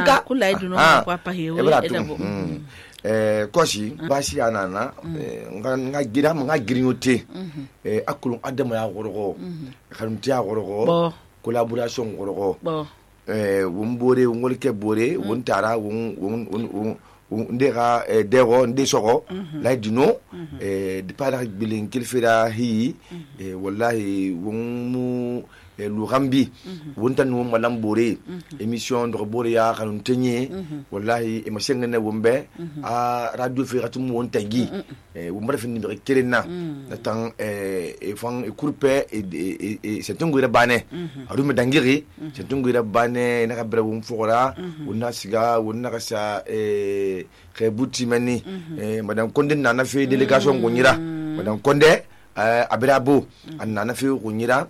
ka kula iduno kwa pa hewe edabo kosi basi anana nga girinyote akulun adama ya gorogo kanunti ya gorogo collaboration gorogo won bore won ke bore won tara won ndega dego ndesogo la dino de para bilin kilfira hi wallahi won mu lu rambi wontan no malam bore émission do bore ya kanun tenye wallahi e masengene wombe a radio firatum wontagi womba fin ni kerena tan e fan e kurpe e setunguira bane arume dangiri setunguira bane na kabra won fora wonna siga wonna kasa rebuti mani madame Konde na fe délégation gonyira madame Konde abirabo anna na fi kunyira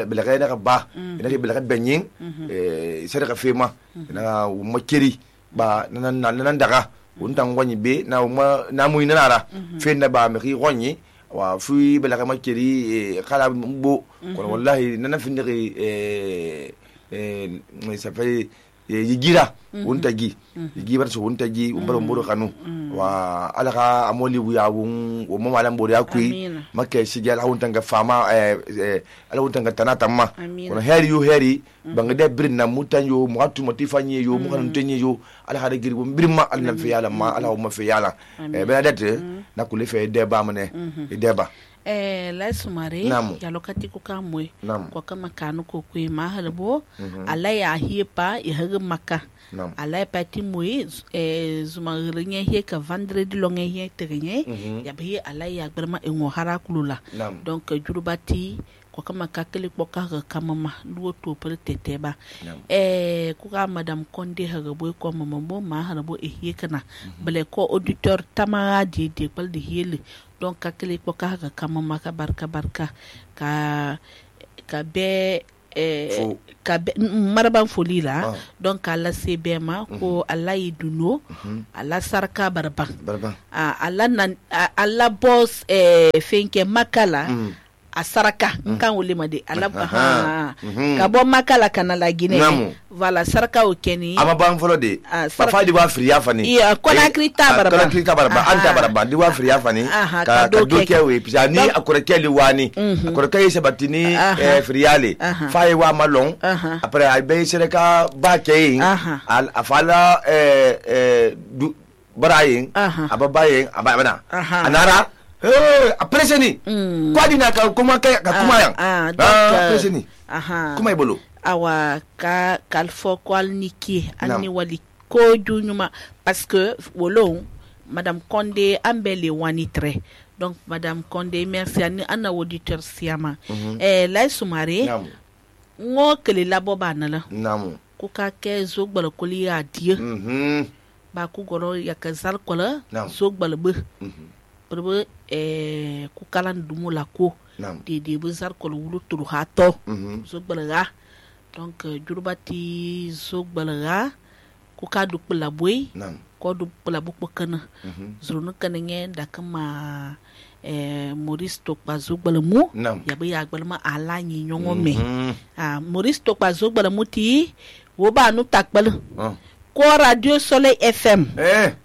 bilagay na ba ina ke bilagay benyin sare ka fema na makeri ba nan daga untan wonyi be na mu ina ra fe na ba mi gonyi wa fi bilagay makeri kala bo ko wallahi nan fi ndiri ça fait yigira wontagi yigibar so wontagi umbaro mboro kanu wa alaka amoli buya won o mama lam bori akui makke sigel hawuntanga fama ala wuntanga tanata ma kono heri bangade birna mutanyo muatu motifanye yo mu kanu tenye yo ala hada giri bom birma ala fi yala ma ala o ma fi yala benadete nakule fe deba mane deba la sumare ya lokati ko kamwe ko kama kanu ko kwe mahalbo ala ya hiepa ya haga maka ala ya pati mwe zuma rinye he ka vendredi longe he terenye ya bi ala ya gberma enwo hara kulula donc jurubati ko kama kakele ko ka kama luo to per teteba ko ka madame Konde haga boy ko mambo mahalbo he kana bele ko auditeur tamara de bal de hele donc kakele ko ka kama maka barka ka be maraban foli la donc ala sebema ko ala iduno ala sarka barban ala boss fenke makala a saraka kan wole made ala ka bo makala kana la Guinée voilà saraka o keni ama ban folo de ba fa di wa friya fani kona krita baraba anta baraba di wa friya fani ka do ke we pisani akore kele wani akore kay sabatini friyale fa e wa malon après ay be sereka ba kay al afala du barayin ababayin abana anara preseni kwa dina ka kuma yang preseni kuma ibolo awa kalfo kwal niki ani wali ko dunyuma parce que wolon madame Konde ambele wani tre donc madame Konde merci ani ana auditeur siama la sumare ngo kele labo banala ku ka ke zogbal ko li adie ba ku goro yakazal ko la zogbal be perbe ku kalan dumu la ko de bezar ko wulu turu hato zogbalaga donc jurubati zogbalaga ku ka du pula boy ko du pula bu kana zurunu kanenge da kama Maurice Tokpa zogbalamu ya be ya gbalma ala nyi nyongo me Maurice Tokpa zogbalamu ti wo ba nu takbal ko Radio Soleil FM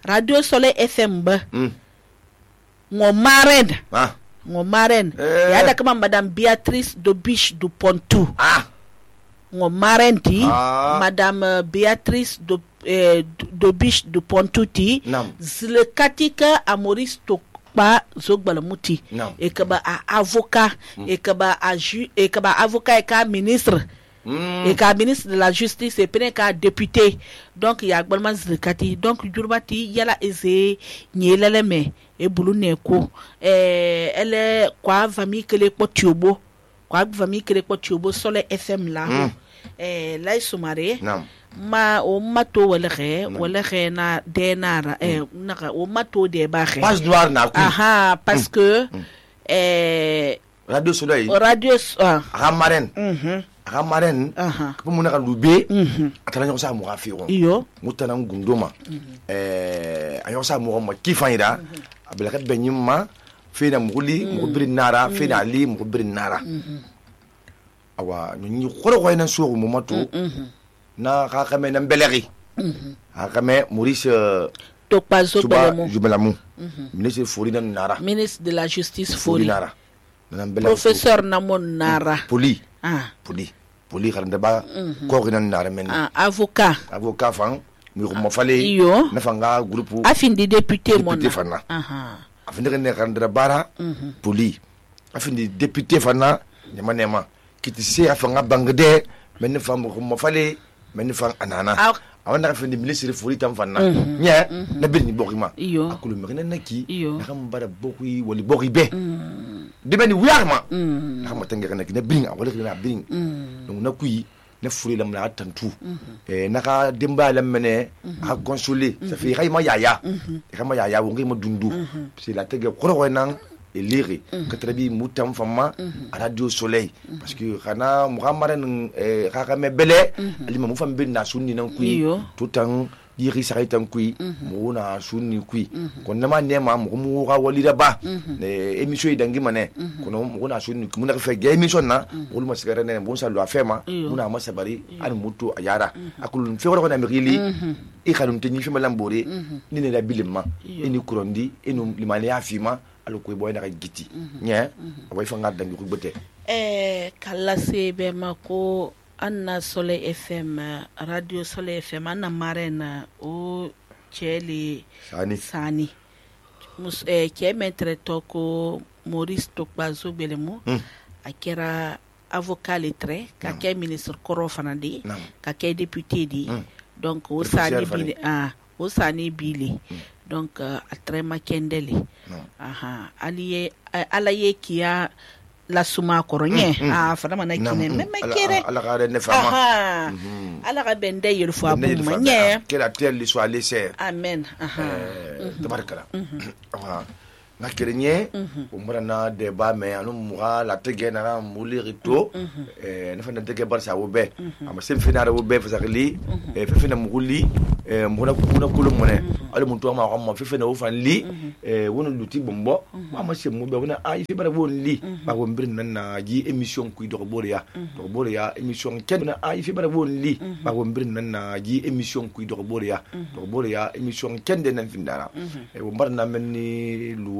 Radio Soleil FM ba ngomaren ya da kama madame Béatrice Dobiche du Pontou ngomaren ti madame Béatrice Dobiche du Pontou ti zile katika a Maurice Tokpa zogbalamuti e kaba a avocat e kaba avocat e ka ministre et ka ministre de la justice et pene ka député donc ya gbalman zikati donc jurbati yala eze nyelele me e bulu neko ele kwa famille kele ko tiobo Soleil FM la la sumare ma o mato wala re na denara naka o mato de ba re passe noir na ku parce que Radio Soleil Ramaren ko mun ka lube atana nyo sa mo ga firon iyo mutana ngundoma ayo sa mo ma kifanyira abela ka benyima fina muguli mugubiri nara fina ali mugubiri nara awa nyi khoro ko ina so mo mato na hakame na beleri hakame Maurice Tokpazo Jubelamu ministre Fori Nara, ministre de la justice Fori Nara, professeur Namon Nara, Poli karanda ba ko Nara men avocat fan mi ko mafale na fanga groupe afindi député fana afindi ne karanda bara Poli afindi député fana nema kiti se afanga bangde men fam ko mafale men fam anana awanda afindi ministre Fori tam fana nya na birni bokima akulu me na ki na kam bara bokui wali boki be de beni wiarma na ma tanga kana ki na birni wala na birni donc na kui na Fori lam na tantu naka demba lam mene a consoler ça fait rayma yaya wongi ma dundu c'est la tege koro nan elire katrabi mutam fama radio soleil parce que kana muhammadan me bele alima mu fam bin na sunni nan kui tout temps yiri saray tan kui mu na sunni kui kon nama nema mu ga walida ba émission idangi mane kono mu na sunni mu na fe émission na wol ma sigara ne bon sallo afema mu na masabari an mutu ayara akul fe ko na mirili e khalum te ni fe malambore ni ne la bilima ni kurondi enu limani afima alo ko boy na giti nya way fa ngadda ngi ko bete kala sebe mako anna Soleil FM radio Soleil FM anna marena o cheli sani mus ke metre toko Maurice Tokpazo Belemo akera avocat lettré ka ke ministre koro fanandi ka ke député di donc o sani bili donc atrema kendeli alaye kia la suma koronye fana mana kine meme kere ala ga ne fama ala ga bende yel fo abu manye que la terre lui soit laissée amen tabarakala na kerenye umrana deba me anu muga la tege na mulirito na fana tege barsa wobe ama sem fina wobe fasakli fefina muguli muna kulumone ale muntu ma ko fefina wo fan li wono luti bombo ama sem mo be wona ay fi bara won li ba won bir nan na ji émission kuy do boria émission ken na ay fi bara won li ba won bir nan na ji émission kuy do boria émission ken de nan findara wo barna melni lu